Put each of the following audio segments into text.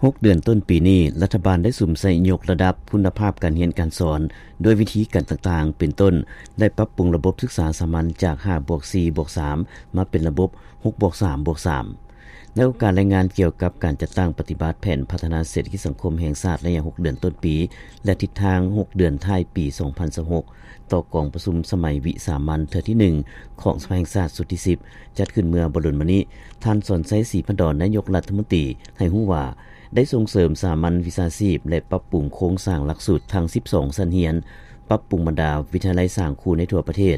ຫົກເດືອນຕົ້ນປີນີ້, ລັດຖະບານໄດ້ສຸມໃສ່ຍົກລະດັບຄຸນນະພາບການຮຽນການສອນ ດ້ວຍວິທີການຕ່າງໆ ເປັນຕົ້ນ ໄດ້ປັບປຸງລະບົບສຶກສາສາມັນຈາກຫ້າບວກສີ່ບວກສາມ ມາເປັນລະບົບຫົກບວກສາມບວກສາມ. ໃນໂອກາດລາຍງານກ່ຽວກັບການຈັດຕັ້ງປະຕິບັດແຜນພັດທະນາເສດຖະກິດສັງຄົມແຫ່ງຊາດໄລຍະຫົກເດືອນຕົ້ນປີ ແລະ ທິດທາງຫົກເດືອນທ້າຍປີສອງພັນຊາວຫົກ ຕໍ່ກອງປະຊຸມສະໄໝວິສາມັນເທື່ອທີໜຶ່ງ ຂອງສະພາແຫ່ງຊາດຊຸດທີສິບ ຈັດຂຶ້ນເມື່ອບໍ່ດົນມານີ້, ທ່ານ ສອນໄຊ ສີພັນດອນ ນາຍົກລັດຖະມົນຕີ ໃຫ້ຮູ້ວ່າ ໄດ້ສົ່ງເສີມສາມັນວິຊາຊີບ ແລະ ປັບປຸງໂຄງສ້າງຫຼັກສູດທັງສິບສອງຊັ້ນຮຽນ, ປັບປຸງບັນດາວິທະຍາໄລສ້າງຄູໃນທົ່ວປະເທດ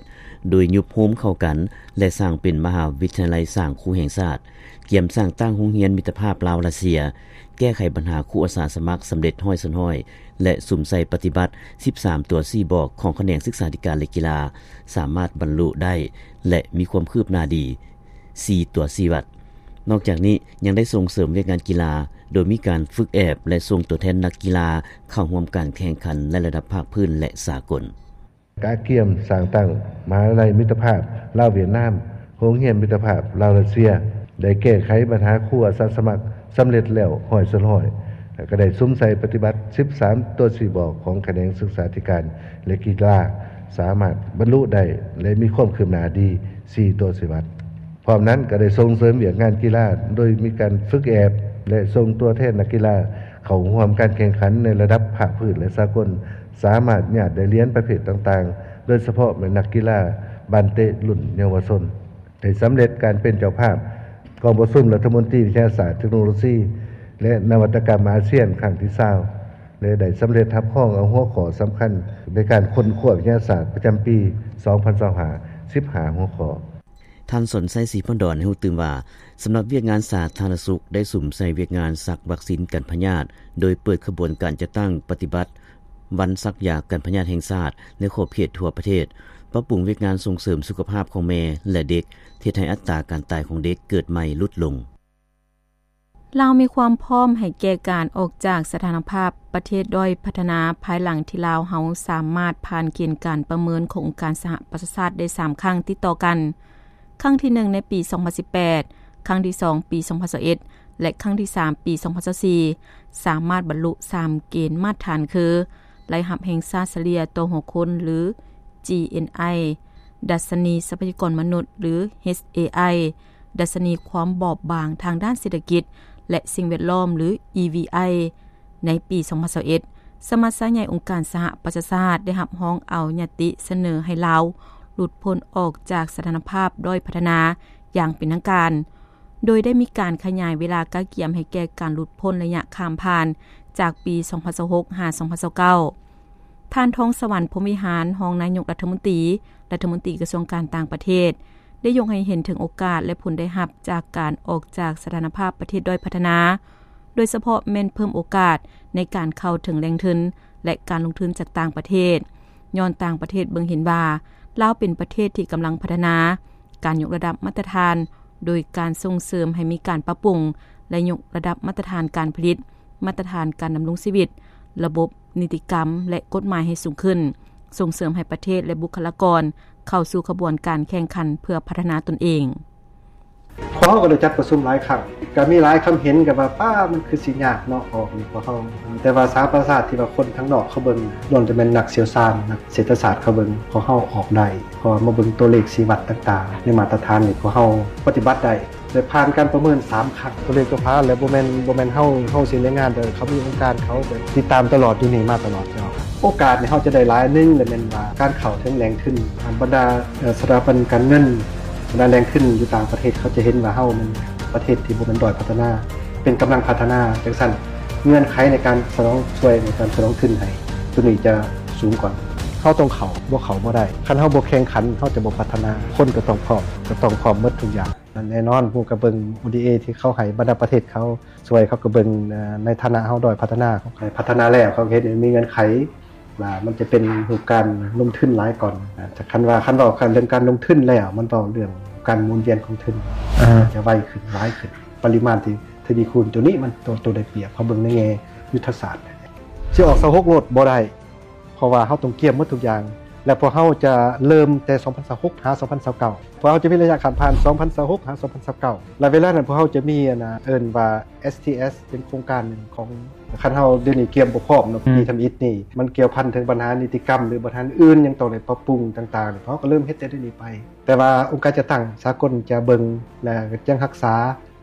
ໂດຍຍຸບໂຮມເຂົ້າກັນ ແລະ ສ້າງເປັນມະຫາວິທະຍາໄລສ້າງຄູແຫ່ງຊາດ, ກຽມສ້າງຕັ້ງໂຮງຮຽນມິດຕະພາບລາວ-ຣັດເຊຍ, ແກ້ໄຂບັນຫາຄູອາສາສະໝັກສຳເລັດຮ້ອຍສ່ວນຮ້ອຍ ແລະ ສຸມໃສ່ປະຕິບັດສິບສາມຕົວຊີ້ບອກຂອງຂະແໜງສຶກສາທິການ ແລະ ກິລາ ສາມາດບັນລຸໄດ້ ແລະ ມີຄວາມຄືບໜ້າດີ ສີ່ຕົວຊີ້ວັດ. ນອກຈາກນີ້ຍັງໄດ້ສົ່ງເສີມວຽກງານກິລາ ໂດຍມີການຝຶກແອບ ແລະ ສົ່ງຕົວແທນນັກກິລາເຂົ້າຮ່ວມການແຂ່ງຂັນໃນລະດັບພາກພື້ນ ແລະ ສາກົນ. ກະກຽມສ້າງຕັ້ງມະຫາວິທະຍາໄລມິດຕະພາບລາວ-ຫວຽດນາມ, ໂຮງຮຽນມິດຕະພາບລາວ-ຣັດເຊຍ, ໄດ້ແກ້ໄຂບັນຫາຄູອາສາສະໝັກສຳເລັດແລ້ວຮ້ອຍສ່ວນຮ້ອຍ ແລະ ກະໄດ້ສຸມໃສ່ປະຕິບັດສິບສາມຕົວຊີ້ບອກຂອງຂະແໜງສຶກສາທິການ ແລະ ກິລາ ສາມາດບັນລຸໄດ້ ແລະ ມີຄວາມຄືບໜ້າດີ ສີ່ຕົວຊີ້ວັດ. ພ້ອມນັ້ນກໍໄດ້ສົ່ງເສີມວຽກງານກິລາ ໂດຍມີການຝຶກແອບ ແລະ ສົ່ງຕົວແທນນັກກິລາເຂົ້າຮ່ວມການແຂ່ງຂັນໃນລະດັບພາກພື້ນ ແລະ ສາກົນ, ສາມາດຍາດໄດ້ຫຼຽນປະເພດຕ່າງໆ, ໂດຍສະເພາະແມ່ນນັກກິລາບານເຕະລຸ້ນເຍົາວະຊົນ. ໄດ້ສຳເລັດການເປັນເຈົ້າພາບກອງປະຊຸມລັດຖະມົນຕີວິທະຍາສາດ, ເຕັກໂນໂລຊີ ແລະ ນະວັດຕະກຳອາຊຽນຄັ້ງທີຊາວ ແລະ ໄດ້ສຳເລັດຮັບຮອງເອົາຫົວຂໍ້ສຳຄັນໃນການຄົ້ນຄວ້າວິທະຍາສາດປະຈຳປີສອງພັນຊາວຫ້າ ສິບຫ້າຫົວຂໍ້. ທ່ານ ສອນໄຊ ສີພັນດອນ ໃຫ້ຮູ້ຕື່ມວ່າ ສຳລັບວຽກງານສາທາລະນະສຸກ ໄດ້ສຸມໃສ່ວຽກງານສັກວັກຊີນກັນພະຍາດ ໂດຍເປີດຂະບວນການຈັດຕັ້ງປະຕິບັດວັນສັກຢາກັນພະຍາດແຫ່ງຊາດໃນຂອບເຂດທົ່ວປະເທດ, ປັບປຸງວຽກງານສົ່ງເສີມສຸຂະພາບຂອງແມ່ ແລະ ເດັກ, ເຮັດໃຫ້ອັດຕາການຕາຍຂອງເດັກເກີດໃໝ່ຫຼຸດລົງ. ລາວມີຄວາມພ້ອມໃຫ້ແກ່ການອອກຈາກສະຖານະພາບປະເທດດ້ອຍພັດທະນາ ພາຍຫຼັງທີ່ລາວເຮົາສາມາດຜ່ານເກນການປະເມີນຂອງອົງການສະຫະປະຊາຊາດໄດ້ສາມຄັ້ງຕິດຕໍ່ກັນ. ຄັ້ງທີໜຶ່ງໃນປີສອງພັນສິບແປດ, ຄັ້ງທີສອງປີສອງພັນຊາວເອັດ ແລະ ຄັ້ງທີສາມປີສອງພັນຊາວສີ່ ສາມາດບັນລຸສາມເກນມາດຖານຄື ລາຍຮັບແຫ່ງຊາດສະເລ່ຍຕໍ່ຫົວຄົນ ຫຼື ຈີເອັນໄອ, ດັດຊະນີຊັບພະຍາກອນມະນຸດ ຫຼື ເອັດເອໄອ, ດັດຊະນີຄວາມບອບບາງທາງດ້ານເສດຖະກິດ ແລະ ສິ່ງແວດລ້ອມ ຫຼື ອີວີໄອ. ໃນປີສອງພັນຊາວເອັດ ສະມັດຊາໃຫຍ່ອົງການສະຫະປະຊາຊາດໄດ້ຮັບຮອງເອົາຍະຕິສະເໜີໃຫ້ລາວຫຼຸດພົ້ນອອກຈາກສະຖານະພາບດ້ອຍພັດທະນາຢ່າງເປັນທາງການ, ໂດຍໄດ້ມີການຂະຫຍາຍເວລາກະກຽມໃຫ້ແກ່ການຫຼຸດພົ້ນໄລຍະຂ້າມຜ່ານຈາກປີສອງພັນຊາວຫົກ ຫາ ສອງພັນຊາວເກົ້າ. ທ່ານ ທອງສະຫວັນ ພົມວິຫານ ຮອງນາຍົກລັດຖະມົນຕີ, ລັດຖະມົນຕີກະຊວງການຕ່າງປະເທດ ໄດ້ຍົກໃຫ້ເຫັນເຖິງໂອກາດ ແລະ ຜົນໄດ້ຮັບຈາກການອອກຈາກສະຖານະພາບປະເທດດ້ອຍພັດທະນາ, ໂດຍສະເພາະແມ່ນເພີ່ມໂອກາດໃນການເຂົ້າເຖິງແຫຼ່ງທຶນ ແລະ ການລົງທຶນຈາກຕ່າງປະເທດ, ຍ້ອນຕ່າງປະເທດເບິ່ງເຫັນວ່າລາວເປັນປະເທດທີ່ກຳລັງພັດທະນາ. ການຍົກລະດັບມາດຕະຖານ ໂດຍການສົ່ງເສີມໃຫ້ມີການປັບປຸງ ແລະ ຍົກລະດັບມາດຕະຖານການຜະລິດ, ມາດຕະຖານການດຳລົງຊີວິດ, ລະບົບນິຕິກຳ ແລະ ກົດໝາຍໃຫ້ສູງຂຶ້ນ, ສົ່ງເສີມໃຫ້ປະເທດ ແລະ ບຸກຄະລາກອນເຂົ້າສູ່ຂະບວນການແຂ່ງຂັນເພື່ອພັດທະນາຕົນເອງ. ພວກເຮົາກໍໄດ້ຈັດປະຊຸມຫຼາຍຄັ້ງ, ກໍມີຫຼາຍຄຳເຫັນກັນວ່າ ປ້າ ມັນຄືຊິຍາກເນາະ ອອກນີ້ພວກເຮົາ. ແຕ່ວ່າສະຫະປະຊາຊາດທີ່ວ່າຄົນທາງນອກເຂົາເບິ່ງ ລ້ວນແຕ່ແມ່ນນັກຊ່ຽວຊານ, ນັກເສດຖະສາດເຂົາເບິ່ງ, ພວກເຮົາອອກໄດ້. ເພາະວ່າມາເບິ່ງຕົວເລກຊີ້ວັດຕ່າງໆ ໃນມາດຕະຖານນີ້ ພວກເຮົາປະຕິບັດໄດ້ ໄດ້ຜ່ານການປະເມີນສາມຄັ້ງ. ຕົວເລກຕົວພາ ແລະ ບໍ່ແມ່ນ ບໍ່ແມ່ນເຮົາ ເຮົາຊິລາຍງານ, ແຕ່ເຂົາມີອົງການເຂົາ ແບບຕິດຕາມຕະຫຼອດ ຢູ່ນີ້ມາຕະຫຼອດເນາະ. ໂອກາດນີ້ເຮົາຈະໄດ້ຫຼາຍໜຶ່ງ ແລະ ແມ່ນວ່າການເຂົ້າເຖິງແຫຼ່ງທຶນ, ບັນດາ ເອີ ສະຖາບັນການເງິນ, ບັນດາແຫຼ່ງທຶນຢູ່ຕ່າງປະເທດ ເຂົາຈະເຫັນວ່າເຮົາແມ່ນປະເທດທີ່ບໍ່ແມ່ນດ້ອຍພັດທະນາ, ເປັນກຳລັງພັດທະນາ. ຈັ່ງຊັ້ນ ເງື່ອນໄຂໃນການສະໜອງ ຊ່ວຍໃນການສະໜອງທຶນໃຫ້ ຕົວນີ້ຈະສູງກ່ອນ. ເຮົາຕ້ອງເຂົ້າ, ບໍ່ເຂົ້າບໍ່ໄດ້. ຄັນເຮົາບໍ່ແຂ່ງຂັນ ເຮົາຈະບໍ່ພັດທະນາ. ຄົນກໍຕ້ອງພ້ອມ, ກໍຕ້ອງພ້ອມໝົດທຸກຢ່າງ. ແນ່ນອນ ຜູ້ກໍເບິ່ງ ໂອ ດີ ເອ ທີ່ເຂົາໃຫ້ ບັນດາປະເທດເຂົາຊ່ວຍ, ເຂົາກໍເບິ່ງ ເອີ ໃນຖານະເຮົາດ້ອຍພັດທະນາ. ເຂົາໃຫ້ພັດທະນາແລ້ວ ເຂົາກໍເຮັດໃຫ້ມີເງື່ອນໄຂວ່າມັນຈະເປັນຮູບການລົງທຶນຫຼາຍກ່ອນ. ແຕ່ຄັນວ່າ ຄັນເວົ້າເລື່ອງການລົງທຶນແລ້ວ ມັນເວົ້າເລື່ອງການໝູນວຽນຂອງທຶນ ຈະໄວຂຶ້ນ, ຫຼາຍຂຶ້ນ, ປະລິມານທີ່ທະວີຄູນ. ຕົວນີ້ມັນ ຕົວ ຕົວໄດ້ປຽບ. ເຮົາເບິ່ງໃນແງ່ຍຸດທະສາດ. ຊິອອກຊາວຫົກໂລດບໍ່ໄດ້, ເພາະວ່າເຮົາຕ້ອງກຽມໝົດທຸກຢ່າງ. ແລະ ພວກເຮົາຈະເລີ່ມແຕ່ສອງພັນຊາວຫົກຫາສອງພັນຊາວເກົ້າ ພວກເຮົາຈະມີໄລຍະຂ້າມຜ່ານສອງພັນຊາວຫົກຫາສອງພັນຊາວເກົ້າ ແລະ ເວລານັ້ນພວກເຮົາຈະມີອັນນ່າ ເອີ້ນວ່າ ເອສທີເອສ ເປັນໂຄງການໜຶ່ງຂອງ ຄັນເຮົາດຽວນີ້ກຽມບໍ່ພ້ອມເນາະ ອືມ ປີທຳອິດນີ້ ມັນກ່ຽວພັນເຖິງບັນຫານິຕິກຳ ຫຼື ບັນຫາອື່ນຍັງຕ້ອງໄດ້ປັບປຸງຕ່າງໆ ພວກເຮົາກໍເລີ່ມເຮັດແຕ່ດຽວນີ້ໄປ ແຕ່ວ່າອົງການຈັດຕັ້ງສາກົນຈະເບິ່ງ ແລະ ຍັງຮັກສາ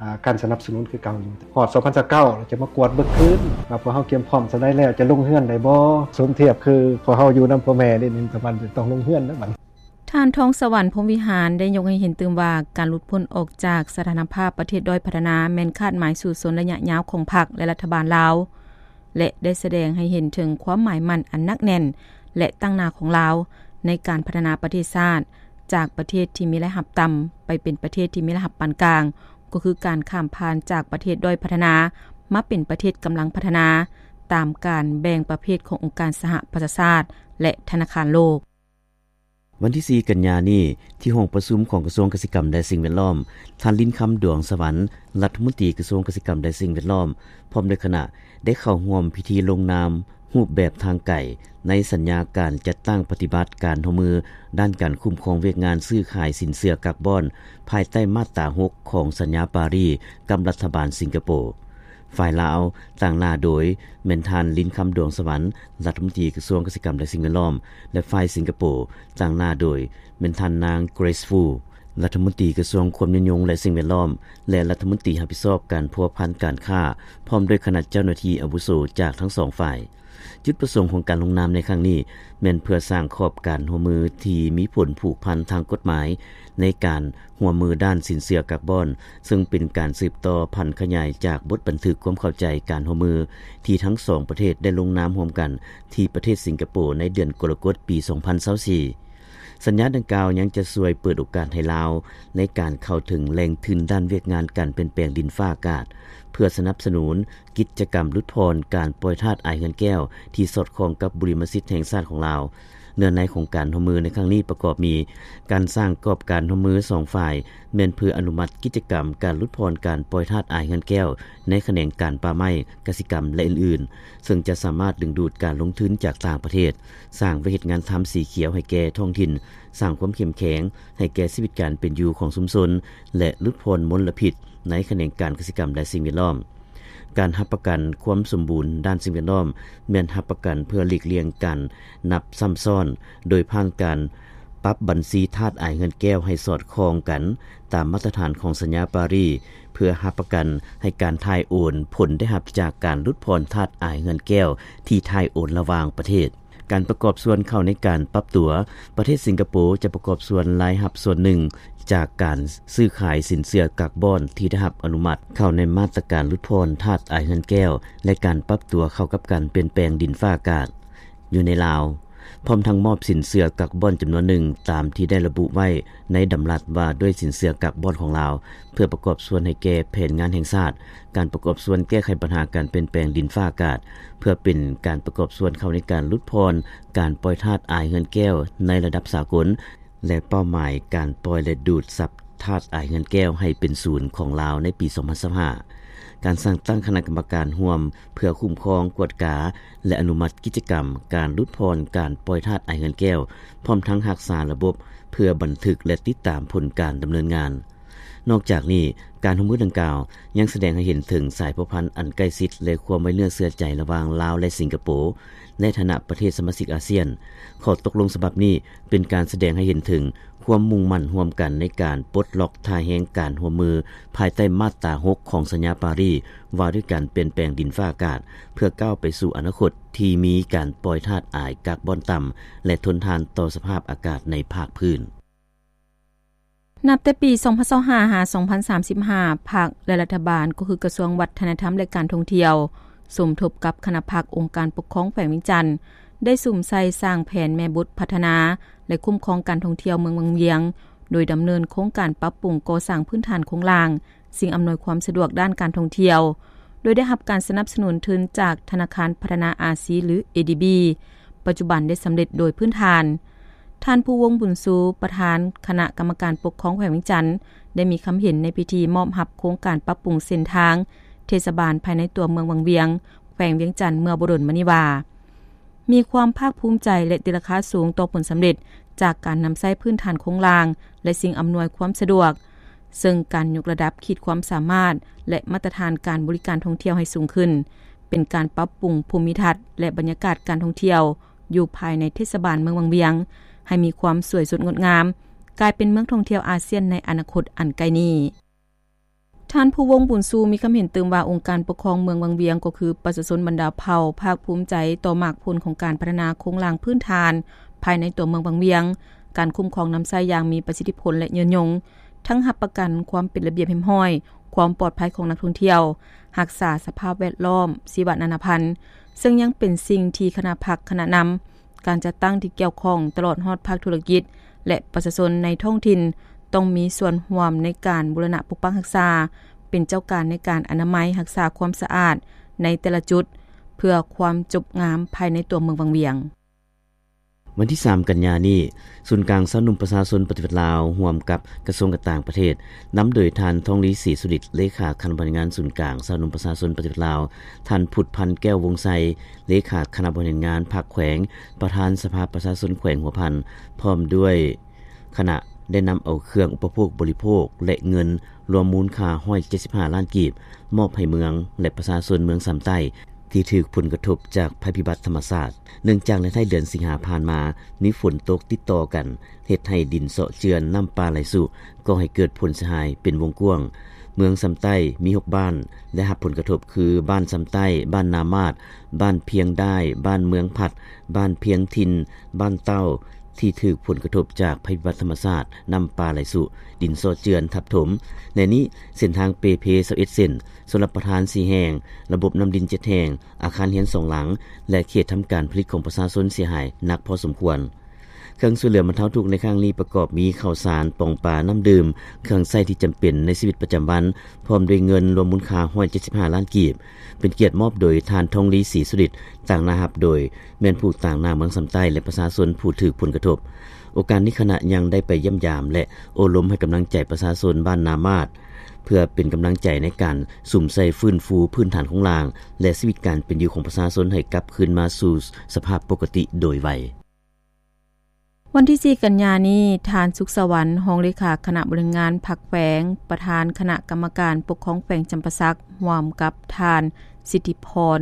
ອ່າ ການສະໜັບສະໜູນຄືເກົ່າຢູ່. ຮອດສອງພັນຊາວເກົ້າ ເຮົາຈະມາກວດເບິ່ງຄືນວ່າພວກເຮົາກຽມພ້ອມສ່ຳໃດແລ້ວ ຈະລົງເຮືອນໄດ້ບໍ່? ສົມທຽບຄືພວກເຮົາຢູ່ນຳພໍ່ແມ່ນີ້ ແມ່ນປະມານຈະຕ້ອງລົງເຮືອນແລ້ວບັດນີ້. ທ່ານ ທອງສະຫວັນ ພົມວິຫານ ໄດ້ຍົກໃຫ້ເຫັນຕື່ມວ່າ ການຫຼຸດພົ້ນອອກຈາກສະຖານະພາບປະເທດດ້ອຍພັດທະນາ ແມ່ນຄາດໝາຍສູ້ຊົນໄລຍະຍາວຂອງພັກ ແລະ ລັດຖະບານລາວ ແລະ ໄດ້ສະແດງໃຫ້ເຫັນເຖິງຄວາມໝາຍໝັ້ນອັນໜັກແໜ້ນ ແລະ ຕັ້ງໜ້າຂອງລາວ ໃນການພັດທະນາປະເທດຊາດ ຈາກປະເທດທີ່ມີລາຍຮັບຕ່ຳ ໄປເປັນປະເທດທີ່ມີລາຍຮັບປານກາງ ກໍຄືການຂ້າມຜ່ານຈາກປະເທດດ້ອຍພັດທະນາ ມາເປັນປະເທດກຳລັງພັດທະນາ ຕາມການແບ່ງປະເພດຂອງອົງການສະຫະປະຊາຊາດ ແລະ ທະນາຄານໂລກ. ວັນທີສີ່ ກັນຍານີ້ ທີ່ຫ້ອງປະຊຸມຂອງກະຊວງກະສິກຳ ແລະ ສິ່ງແວດລ້ອມ, ທ່ານ ລິນຄຳ ດວງສະຫວັນ ລັດຖະມົນຕີກະຊວງກະສິກຳ ແລະ ສິ່ງແວດລ້ອມ ພ້ອມດ້ວຍຄະນະ ໄດ້ເຂົ້າຮ່ວມພິທີລົງນາມຮູບແບບທາງໄກ ໃນສັນຍາການຈັດຕັ້ງປະຕິບັດການຮ່ວມມືດ້ານການຄຸ້ມຄອງວຽກງານຊື້ຂາຍສິນເຊື່ອກາບອນ ພາຍໃຕ້ມາດຕາຫົກຂອງສັນຍາປາຣີກັບລັດຖະບານສິງກະໂປ. ຝ່າຍລາວ ຕາງໜ້າໂດຍແມ່ນທ່ານ ລິນຄຳ ດວງສະຫວັນ ລັດຖະມົນຕີກະຊວງກະສິກຳ ແລະ ສິ່ງແວດລ້ອມ ແລະ ຝ່າຍສິງກະໂປ ຕາງໜ້າໂດຍແມ່ນທ່ານນາງ ເກຣສ ຟູ ລັດຖະມົນຕີກະຊວງຄວາມຍືນຍົງ ແລະ ສິ່ງແວດລ້ອມ ແລະ ລັດຖະມົນຕີຮັບຜິດຊອບການພົວພັນການຄ້າ ພ້ອມດ້ວຍຄະນະເຈົ້າໜ້າທີ່ອາວຸໂສຈາກທັງສອງຝ່າຍ. ຈຸດປະສົງຂອງການລົງນາມໃນຄັ້ງນີ້ ແມ່ນເພື່ອສ້າງຂອບການຮ່ວມມືທີ່ມີຜົນຜູກພັນທາງກົດໝາຍ ໃນການຮ່ວມມືດ້ານສິນເຊື່ອກາບອນ, ເຊິ່ງເປັນການສືບຕໍ່ຜັນຂະຫຍາຍຈາກບົດບັນທຶກຄວາມເຂົ້າໃຈການຮ່ວມມື ທີ່ທັງສອງປະເທດໄດ້ລົງນາມຮ່ວມກັນທີ່ປະເທດສິງກະໂປ ໃນເດືອນກໍລະກົດ ປີສອງພັນຊາວສີ່. ສັນຍາດັ່ງກ່າວຍັງຈະຊ່ວຍເປີດໂອກາດໃຫ້ລາວ ໃນການເຂົ້າເຖິງແຫຼ່ງທຶນດ້ານວຽກງານການປ່ຽນແປງດິນຟ້າອາກາດ ເພື່ອສະໜັບສະໜູນ ກິດຈະກຳຫຼຸດຜ່ອນການປ່ອຍທາດອາຍເຮືອນແກ້ວ ທີ່ສອດຄ່ອງກັບບຸລິມະສິດແຫ່ງຊາດຂອງລາວ. ເນື້ອໃນຂອງການຮ່ວມມືໃນຄັ້ງນີ້ປະກອບມີ ການສ້າງກອບການຮ່ວມມືສອງຝ່າຍ ແມ່ນເພື່ອອະນຸມັດກິດຈະກຳການຫຼຸດຜ່ອນການປ່ອຍທາດອາຍເຮືອນແກ້ວ ໃນຂະແໜງການປ່າໄມ້, ກະສິກຳ ແລະ ອື່ນໆ ເຊິ່ງຈະສາມາດດຶງດູດການລົງທຶນຈາກຕ່າງປະເທດ, ສ້າງວຽກເຮັດງານທຳສີຂຽວໃຫ້ແກ່ທ້ອງຖິ່ນ, ສ້າງຄວາມເຂັ້ມແຂງໃຫ້ແກ່ຊີວິດການເປັນຢູ່ຂອງຊຸມຊົນ ແລະ ຫຼຸດຜ່ອນມົນລະພິດໃນຂະແໜງການກະສິກຳ ແລະ ສິ່ງແວດລ້ອມ. ການຮັບປະກັນຄວາມສົມບູນດ້ານສິ່ງແວດລ້ອມ ແມ່ນຮັບປະກັນເພື່ອຫຼີກລ່ຽງການນັບຊ້ຳຊ້ອນ ໂດຍຜ່ານການປັບບັນຊີທາດອາຍເຮືອນແກ້ວໃຫ້ສອດຄ່ອງກັນຕາມມາດຕະຖານຂອງສັນຍາປາຣີ ເພື່ອຮັບປະກັນໃຫ້ການຖ່າຍໂອນຜົນໄດ້ຮັບຈາກການຫຼຸດຜ່ອນທາດອາຍເຮືອນແກ້ວທີ່ຖ່າຍໂອນລະຫວ່າງປະເທດ. ການປະກອບສ່ວນເຂົ້າໃນການປັບຕົວ, ປະເທດສິງກະໂປຈະປະກອບສ່ວນລາຍຮັບສ່ວນໜຶ່ງຈາກການຊື້ຂາຍສິນເຊື່ອກາບອນທີ່ໄດ້ຮັບອະນຸມັດເຂົ້າໃນມາດຕະການຫຼຸດຜ່ອນທາດອາຍເຮືອນແກ້ວ ແລະ ການປັບຕົວເຂົ້າກັບການປ່ຽນແປງດິນຟ້າອາກາດຢູ່ໃນລາວ, ພ້ອມທັງມອບສິນເຊື່ອກາບອນຈຳນວນໜຶ່ງ ຕາມທີ່ໄດ້ລະບຸໄວ້ໃນດຳລັດວ່າດ້ວຍສິນເຊື່ອກາບອນຂອງລາວ ເພື່ອປະກອບສ່ວນໃຫ້ແກ່ແຜນງານແຫ່ງຊາດ ການປະກອບສ່ວນແກ້ໄຂບັນຫາການປ່ຽນແປງດິນຟ້າອາກາດ ເພື່ອເປັນການປະກອບສ່ວນເຂົ້າໃນການຫຼຸດຜ່ອນການປ່ອຍທາດອາຍເຮືອນແກ້ວໃນລະດັບສາກົນ ແລະ ເປົ້າໝາຍການປ່ອຍ ແລະ ດູດຊັບທາດອາຍເຮືອນແກ້ວໃຫ້ເປັນສູນຂອງລາວໃນປີສອງພັນຊາວຫ້າ. ການສ້າງຕັ້ງຄະນະກຳມະການຮ່ວມເພື່ອຄຸ້ມຄອງ, ກວດກາ ແລະ ອະນຸມັດກິດຈະກຳການຫຼຸດຜ່ອນການປ່ອຍທາດອາຍເຮືອນແກ້ວ, ພ້ອມທັງຮັກສາລະບົບເພື່ອບັນທຶກ ແລະ ຕິດຕາມຜົນການດຳເນີນງານ. ນອກຈາກນີ້, ການຮ່ວມມືດັ່ງກ່າວຍັງສະແດງໃຫ້ເຫັນເຖິງສາຍພົວພັນອັນໃກ້ຊິດ ແລະ ຄວາມໄວ້ເນື້ອເຊື່ອໃຈລະຫວ່າງລາວ ແລະ ສິງກະໂປ ໃນຖານະປະເທດສະມາຊິກອາຊຽນ. ຂໍ້ຕົກລົງສະບັບນີ້ເປັນການສະແດງໃຫ້ເຫັນເຖິງຄວາມມຸ່ງໝັ້ນຮ່ວມກັນໃນການປົດລັອກທ່າແຮງການຮ່ວມມື ພາຍໃຕ້ມາດຕາຫົກຂອງສັນຍາປາຣີ ວ່າດ້ວຍການປ່ຽນແປງດິນຟ້າອາກາດ ເພື່ອກ້າວໄປສູ່ອະນາຄົດທີ່ມີການປ່ອຍທາດອາຍກາບອນຕ່ຳ ແລະ ທົນທານຕໍ່ສະພາບອາກາດໃນພາກພື້ນ. ນັບແຕ່ປີສອງພັນຊາວຫ້າຫາສອງພັນສາມສິບຫ້າ ພັກ ແລະ ລັດຖະບານ ກໍຄືກະຊວງວັດທະນະທຳ ແລະ ການທ່ອງທ່ຽວ ສົມທົບກັບຄະນະພັກອົງການປົກຄອງແຂວງວຽງຈັນ ໄດ້ສຸມໃສ່ສ້າງແຜນແມ່ບົດພັດທະນາ ແລະ ຄຸ້ມຄອງການທ່ອງທ່ຽວເມືອງວັງວຽງ ໂດຍດຳເນີນໂຄງການປັບປຸງກໍ່ສ້າງພື້ນຖານໂຄງລ່າງ ສິ່ງອຳນວຍຄວາມສະດວກດ້ານການທ່ອງທ່ຽວ ໂດຍໄດ້ຮັບການສະໜັບສະໜູນທຶນຈາກທະນາຄານພັດທະນາອາຊີ ຫຼື ເອດີບີ ປັດຈຸບັນໄດ້ສຳເລັດໂດຍພື້ນຖານ. ທ່ານ ພູວົງ ບຸນຊູ ປະທານຄະນະກຳມະການປົກຄອງແຂວງວຽງຈັນ ໄດ້ມີຄຳເຫັນໃນພິທີມອບຮັບໂຄງການປັບປຸງເສັ້ນທາງເທດສະບານພາຍໃນຕົວເມືອງວັງວຽງ ແຂວງວຽງຈັນ ເມື່ອບໍ່ດົນມານີ້ວ່າ, ມີຄວາມພາກພູມໃຈ ແລະ ຕີລາຄາສູງຕໍ່ຜົນສຳເລັດຈາກການນຳໃຊ້ພື້ນຖານໂຄງລ່າງ ແລະ ສິ່ງອຳນວຍຄວາມສະດວກ, ເຊິ່ງການຍົກລະດັບຂີດຄວາມສາມາດ ແລະ ມາດຕະຖານການບໍລິການທ່ອງທ່ຽວໃຫ້ສູງຂຶ້ນ, ເປັນການປັບປຸງພູມິທັດ ແລະ ບັນຍາກາດການທ່ອງທ່ຽວຢູ່ພາຍໃນເທດສະບານເມືອງວັງວຽງ ໃຫ້ມີຄວາມສວຍສົດງົດງາມ, ກາຍເປັນເມືອງທ່ອງທ່ຽວອາຊຽນໃນອະນາຄົດອັນໃກ້ນີ້. ທ່ານ ພູວົງ ບຸນຊູ ມີຄຳເຫັນຕື່ມວ່າ ອົງການປົກຄອງເມືອງວັງວຽງ ກໍຄືປະຊາຊົນບັນດາເຜົ່າ ພາກພູມໃຈຕໍ່ໝາກຜົນຂອງການພັດທະນາໂຄງລ່າງພື້ນຖານພາຍໃນຕົວເມືອງວັງວຽງ, ການຄຸ້ມຄອງນຳໃຊ້ຢ່າງມີປະສິດທິຜົນ ແລະ ຍືນຍົງ, ທັງຮັບປະກັນຄວາມເປັນລະບຽບຮຽບຮ້ອຍ, ຄວາມປອດໄພຂອງນັກທ່ອງທ່ຽວ, ຮັກສາສະພາບແວດລ້ອມ, ຊີວະນານາພັນ, ເຊິ່ງຍັງເປັນສິ່ງທີ່ຄະນະພັກ, ຄະນະນຳ, ການຈັດຕັ້ງທີ່ກ່ຽວຂ້ອງ ຕະຫຼອດຮອດພາກທຸລະກິດ ແລະ ປະຊາຊົນໃນທ້ອງຖິ່ນ ຕ້ອງມີສ່ວນຮ່ວມໃນການບູລະນະປົກປັກຮັກສາ, ເປັນເຈົ້າການໃນການອະນາໄມ, ຮັກສາຄວາມສະອາດໃນແຕ່ລະຈຸດ ເພື່ອຄວາມຈົບງາມພາຍໃນຕົວເມືອງວັງວຽງ. ວັນທີສາມ ກັນຍານີ້, ສູນກາງຊາວໜຸ່ມປະຊາຊົນປະຕິວັດລາວ ຮ່ວມກັບກະຊວງການຕ່າງປະເທດ, ນຳໂດຍທ່ານ ທອງລີ ສີສຸລິດ ເລຂາຄະນະບໍລິຫານງານສູນກາງຊາວໜຸ່ມປະຊາຊົນປະຕິວັດລາວ, ທ່ານ ພຸດພັນ ແກ້ວວົງໄຊ ເລຂາຄະນະບໍລິຫານງານພັກແຂວງ, ປະທານສະພາປະຊາຊົນແຂວງຫົວພັນ ພ້ອມດ້ວຍຄະນະ ໄດ້ນຳເອົາເຄື່ອງອຸປະໂພກບໍລິໂພກ ແລະ ເງິນລວມມູນຄ່າ ຮ້ອຍເຈັດສິບຫ້າລ້ານກີບ ມອບໃຫ້ເມືອງ ແລະ ປະຊາຊົນເມືອງຊຳໃຕ້ ທີ່ຖືກຜົນກະທົບຈາກໄພພິບັດທຳມະຊາດ. ເນື່ອງຈາກໃນທ້າຍເດືອນສິງຫາຜ່ານມາ ມີຝົນຕົກຕິດຕໍ່ກັນ ເຮັດໃຫ້ດິນເຊາະເຈື່ອນ, ນ້ຳປ່າໄຫຼຊຸ, ກໍ່ໃຫ້ເກີດຜົນເສຍຫາຍເປັນວົງກວ້າງ. ເມືອງຊຳໃຕ້ມີຫົກບ້ານໄດ້ຮັບຜົນກະທົບ ຄື ບ້ານຊຳໃຕ້, ບ້ານນາມາດ, ບ້ານພຽງດ້າຍ, ບ້ານເມືອງພັດ, ບ້ານພຽງຖິ່ນ, ບ້ານເຕົ້າ ທີ່ຖືກຜົນກະທົບຈາກໄພພິບັດທຳມະຊາດ, ນ້ຳປ່າໄຫຼຊຸ, ດິນເຊາະເຈື່ອນ, ທັບຖົມ. ໃນນີ້, ເສັ້ນທາງເປເພ ຊາວເອັດເສັ້ນ, ຊົນລະປະທານສີ່ແຫ່ງ, ລະບົບນ້ຳດິນເຈັດແຫ່ງ, ອາຄານເຮືອນສອງຫຼັງ ແລະ ເຂດທຳການຜະລິດຂອງປະຊາຊົນເສຍຫາຍໜັກພໍສົມຄວນ. ເຄື່ອງຊ່ວຍເຫຼືອບັນເທົາທຸກໃນຄັ້ງນີ້ປະກອບມີ ເຂົ້າສານ, ປອງປາ, ນ້ຳດື່ມ, ເຄື່ອງໃຊ້ທີ່ຈຳເປັນໃນຊີວິດປະຈຳວັນ, ພ້ອມດ້ວຍເງິນລວມມູນຄ່າ ຮ້ອຍເຈັດສິບຫ້າລ້ານກີບ, ເປັນກຽດມອບໂດຍທ່ານ ທອງລີ ສີສຸລິດ, ຕາງໜ້າຮັບໂດຍ ແມ່ນຜູ້ຕາງໜ້າເມືອງຊຳໃຕ້ ແລະ ປະຊາຊົນຜູ້ຖືກຜົນກະທົບ. ໂອກາດນີ້ຄະນະຍັງໄດ້ໄປຢ້ຽມຢາມ ແລະ ໂອ້ລົມໃຫ້ກຳລັງໃຈປະຊາຊົນບ້ານນາມາດ ເພື່ອເປັນກຳລັງໃຈໃນການສຸມໃສ່ຟື້ນຟູພື້ນຖານໂຄງລ່າງ ແລະ ຊີວິດການເປັນຢູ່ຂອງປະຊາຊົນໃຫ້ກັບຄືນມາສູ່ສະພາບປົກກະຕິໂດຍໄວ. ວັນທີສີ່ ກັນຍານີ້, ທ່ານ ສຸກສະຫວັນ ຮອງເລຂາຄະນະບໍລິຫານງານພັກແຂວງ, ປະທານຄະນະກຳມະການປົກຄອງແຂວງຈຳປາສັກ, ຮ່ວມກັບທ່ານ ສິດທິພອນ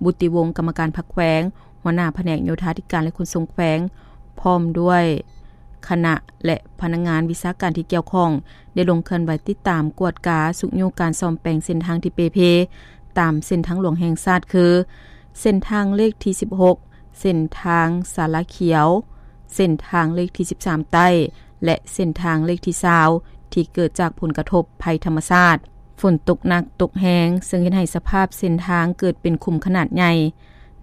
ບຸດຕິວົງ ກຳມະການພັກແຂວງ, ຫົວໜ້າພະແນກໂຍທາທິການ ແລະ ຂົນສົ່ງແຂວງ, ພ້ອມດ້ວຍຄະນະ ແລະ ພະນັກງານວິຊາການທີ່ກ່ຽວຂ້ອງ ໄດ້ລົງເຄື່ອນໄຫວຕິດຕາມ, ກວດກາ, ຊຸກຍູ້ການສ້ອມແປງເສັ້ນທາງທີ່ເປ່ເພ ຕາມເສັ້ນທາງຫຼວງແຫ່ງຊາດ ຄື ເສັ້ນທາງເລກທີສິບຫົກ, ເສັ້ນທາງສາລາຂຽວ, ເສັ້ນທາງເລກທີສິບສາມໃຕ້ ແລະ ເສັ້ນທາງເລກທີຊາວ ທີ່ເກີດຈາກຜົນກະທົບໄພທຳມະຊາດ, ຝົນຕົກໜັກຕົກແຮງ, ເຊິ່ງເຮັດໃຫ້ສະພາບເສັ້ນທາງເກີດເປັນຂຸມຂະໜາດໃຫຍ່,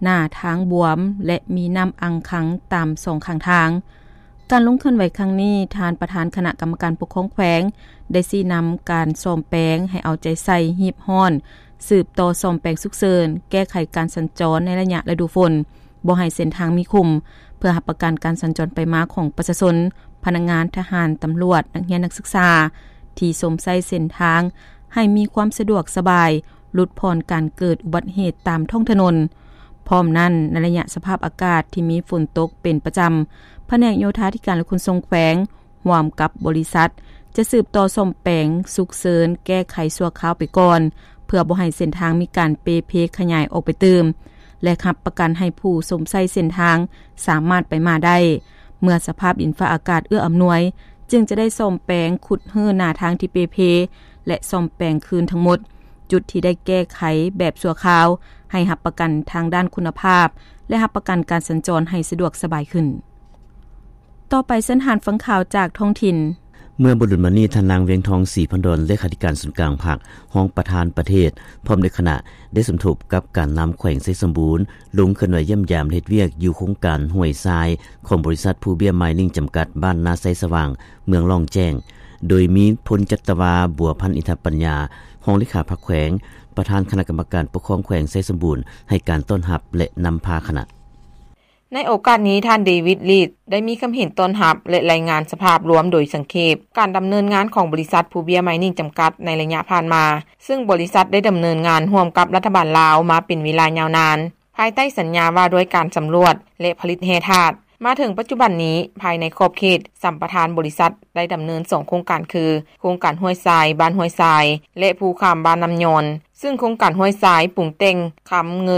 ໜ້າທາງບວມ ແລະ ມີນ້ຳອັ່ງຂັງຕາມສອງຂ້າງທາງ. ການລົງເຄື່ອນໄຫວຄັ້ງນີ້, ທ່ານປະທານຄະນະກຳມະການປົກຄອງແຂວງ ໄດ້ຊີ້ນຳການສ້ອມແປງໃຫ້ເອົາໃຈໃສ່, ຮີບຮ້ອນ, ສືບຕໍ່ສ້ອມແປງສຸກເສີນ, ແກ້ໄຂການສັນຈອນໃນໄລຍະລະດູຝົນ, ບໍ່ໃຫ້ເສັ້ນທາງມີຂຸມ, ເພື່ອຮັບປະກັນການສັນຈອນໄປມາຂອງປະຊາຊົນ, ພະນັກງານ, ທະຫານ, ຕຳຫຼວດ, ນັກຮຽນ, ນັກສຶກສາ ທີ່ຊົມໃຊ້ເສັ້ນທາງ ໃຫ້ມີຄວາມສະດວກສະບາຍ, ຫຼຸດຜ່ອນການເກີດອຸບັດເຫດຕາມທ້ອງຖະໜົນ. ພ້ອມນັ້ນ, ໃນໄລຍະສະພາບອາກາດທີ່ມີຝົນຕົກເປັນປະຈຳ, ພະແນກໂຍທາທິການ ແລະ ຂົນສົ່ງແຂວງ ຮ່ວມກັບບໍລິສັດ ຈະສືບຕໍ່ສ້ອມແປງສຸກເສີນ, ແກ້ໄຂຊົ່ວຄາວໄປກ່ອນ, ເພື່ອບໍ່ໃຫ້ເສັ້ນທາງມີການເປ່ເພຂະຫຍາຍອອກໄປຕື່ມ ແລະ ຮັບປະກັນໃຫ້ຜູ້ຊົມໃຊ້ເສັ້ນທາງສາມາດໄປມາໄດ້. ເມື່ອສະພາບດິນຟ້າອາກາດເອື້ອອຳນວຍ, ຈຶ່ງຈະໄດ້ສ້ອມແປງ, ຂຸດຮື້ໜ້າທາງທີ່ເປ່ເພ ແລະ ສ້ອມແປງຄືນທັງໝົດ ຈຸດທີ່ໄດ້ແກ້ໄຂແບບຊົ່ວຄາວ ໃຫ້ຮັບປະກັນທາງດ້ານຄຸນນະພາບ ແລະ ຮັບປະກັນການສັນຈອນໃຫ້ສະດວກສະບາຍຂຶ້ນ. ຕໍ່ໄປ, ເຊີນທ່ານຟັງຂ່າວຈາກທ້ອງຖິ່ນ. ເມື່ອບໍ່ດົນມານີ້, ທ່ານນາງ ວຽງທອງ ສີພັນດອນ ເລຂາທິການສູນກາງພັກ, ຮອງປະທານປະເທດ ພ້ອມດ້ວຍຄະນະ ໄດ້ສົມທົບກັບການນຳແຂວງໄຊສົມບູນ ລົງເຄື່ອນໄຫວຢ້ຽມຢາມ ແລະ ເຮັດວຽກຢູ່ໂຄງການຫ້ວຍຊາຍ ຂອງບໍລິສັດພູເບ້ຍມາຍນິງ ຈຳກັດ ບ້ານນາໄຊສະຫວ່າງ ເມືອງລ້ອງແຈ້ງ, ໂດຍມີ ພົນຈັດຕະວາ ບົວພັນ ອິນທະປັນຍາ ຮອງເລຂາພັກແຂວງ, ປະທານຄະນະກຳມະການປົກຄອງແຂວງໄຊສົມບູນ ໃຫ້ການຕ້ອນຮັບ ແລະ ນຳພາຄະນະ. ໃນໂອກາດນີ້, ທ່ານ ເດວິດ ລີດ ໄດ້ມີຄຳເຫັນຕ້ອນຮັບ ແລະ ລາຍງານສະພາບລວມໂດຍສັງເຂບ ການດຳເນີນງານຂອງບໍລິສັດພູເບ້ຍມາຍນິງ ຈຳກັດ ໃນໄລຍະຜ່ານມາ, ເຊິ່ງບໍລິສັດໄດ້ດຳເນີນງານຮ່ວມກັບລັດຖະບານລາວມາເປັນເວລາຍາວນານ. ພາຍໃຕ້ສັນຍາວ່າດ້ວຍການສຳຫຼວດ ແລະ ຜະລິດແຮ່ທາດ. ມາເຖິງປັດຈຸບັນນີ້, ພາຍໃນຂອບເຂດສຳປະທານ, ບໍລິສັດໄດ້ດຳເນີນສອງໂຄງການຄື ໂຄງການຫ້ວຍຊາຍ ບ້ານຫ້ວຍຊາຍ ແລະ ພູຄາມ ບ້ານນ້ຳຍອນ, ຊຶ່ງໂຄງການຫ້ວຍຊາຍປຸງແຕ່ງຄຳເງິນ